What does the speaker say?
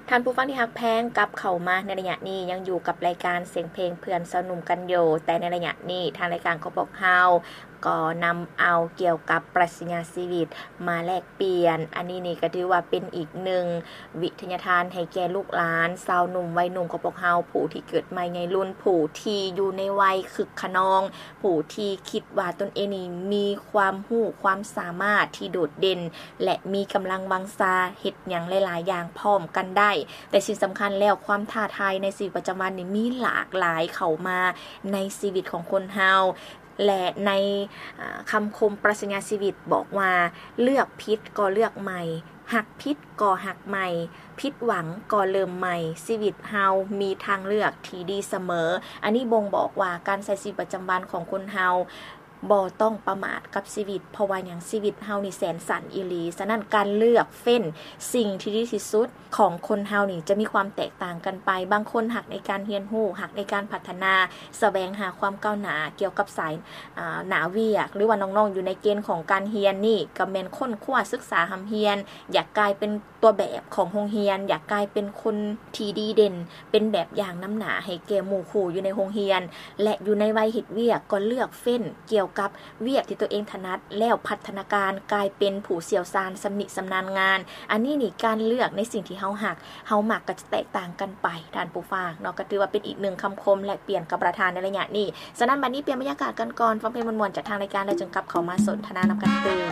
ທ່ານຜູ້ຟັງທີ່ຮັກແພງ, ກັບເຂົ້າມາໃນໄລຍະນີ້ ຍັງຢູ່ກັບລາຍການສຽງເພງເພື່ອນຊາວໜຸ່ມກັນຢູ່, ແຕ່ໃນໄລຍະນີ້ ທາງລາຍການຂອງພວກເຮົາກໍນຳເອົາກ່ຽວກັບປລັດຊະຍາຊີວິດມາແລກປ່ຽນ. ອັນນີ້ນີ້ກໍຖືວ່າເປັນອີກໜຶ່ງວິທະຍາທານໃຫ້ແກ່ລູກຫຼານຊາວໜຸ່ມໄວໜຸ່ມຂອງພວກເຮົາ, ຜູ້ທີ່ເກີດໃໝ່ໃຫຍ່ລຸ້ນ, ຜູ້ທີ່ຢູ່ໃນໄວຄຶກຂະນອງ, ຜູ້ທີ່ຄິດວ່າຕົນເອງນີ້ມີຄວາມຮູ້ຄວາມສາມາດທີ່ໂດດເດັ່ນ ແລະ ມີກຳລັງວັງຊາເຮັດຫຍັງຫຼາຍໆຢ່າງພ້ອມກັນໄດ້. ແຕ່ສິ່ງສຳຄັນແລ້ວ ຄວາມທ້າທາຍໃນຊີວິດປະຈຳວັນນີ້ມີຫຼາກຫຼາຍເຂົ້າມາໃນຊີວິດຂອງຄົນເຮົາ ແລະ ໃນ ອາ ຄຳຄົມປລັດຊະຍາຊີວິດບອກວ່າ ເລືອກຜິດກໍເລືອກໃໝ່, ຮັກຜິດກໍຮັກໃໝ່, ຜິດຫວັງກໍເລີ່ມໃໝ່, ຊີວິດເຮົາມີທາງເລືອກທີ່ດີສະເໝີ. ອັນນີ້ບົ່ງບອກວ່າການໃຊ້ຊີວິດປະຈຳວັນຂອງຄົນເຮົາ ບໍ່ຕ້ອງປະໝາດກັບຊີວິດ, ເພາະວ່າຫຍັງ? ຊີວິດເຮົານີ້ແສນສັ້ນອີ່ຫຼີ. ສະນັ້ນ ການເລືອກເຟ້ນສິ່ງທີ່ດີທີ່ສຸດຂອງຄົນເຮົານີ້ຈະມີຄວາມແຕກຕ່າງກັນໄປ. ບາງຄົນຮັກໃນການຮຽນຮູ້, ຮັກໃນການພັດທະນາ, ສະແຫວງຫາຄວາມກ້າວໜ້າກ່ຽວກັບສາຍ ອາ ໜ້າວຽກ, ຫຼືວ່ານ້ອງໆຢູ່ໃນເກນຂອງການຮຽນນີ້ ກໍແມ່ນຄົ້ນຄວ້າສຶກສາຮ່ຳຮຽນ, ຢາກກາຍເປັນ ຕົວແບບຂອງໂຮງຮຽນ, ຢາກກາຍເປັນຄົນທີ່ດີເດັ່ນ, ເປັນແບບຢ່າງນຳໜ້າໃຫ້ແກ່ໝູ່ຄູ່ຢູ່ໃນໂຮງຮຽນ ແລະ ຢູ່ໃນໄວເຮັດວຽກກໍເລືອກເຟ້ນກ່ຽວກັບວຽກທີ່ຕົວເອງຖະໜັດ ແລ້ວພັດທະນາການກາຍເປັນຜູ້ຊ່ຽວຊານຊຳນິຊຳນານງານ. ອັນນີ້ນີ້ ການເລືອກໃນສິ່ງທີ່ເຮົາຮັກ, ເຮົາມັກກໍຈະແຕກຕ່າງກັນໄປ, ທ່ານຜູ້ຟັງເນາະ. ກໍຖືວ່າເປັນອີກໜຶ່ງຄຳຄົມແລກປ່ຽນກັບປະທານໃນໄລຍະນີ້. ສະນັ້ນ ບັດນີ້ປ່ຽນບັນຍາກາດກັນກ່ອນ, ຟັງເພງມ່ວນໆຈາກທາງລາຍການ ແລ້ວຈຶ່ງກັບເຂົ້າມາສົນທະນານຳກັນຕື່ມ.